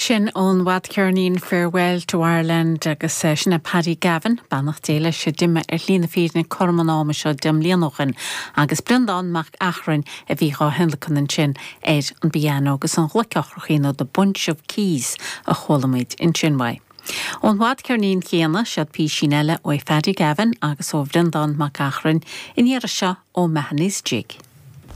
Sin ón bhfadcheirnín Farewell to Ireland agus sin é Paddy Gavin, beannacht Dé leis, a d'imigh ar shlí na fírinne cothrom an ama seo 10 mbliana ó shin, agus Breandán Mac Eachrainn a bhí dhá thionlacan ansin ar an bpianó agus an ghluic eochrachaí nó The Bunch of Keys a chuala muid ansin uaidh. Ón bhfadcheirnín chéanna, siod písín eile ó Phaddy Gavin agus ó Bhreandán Mac Eachrainn, an iarraidh seo O'Mahony's Jig.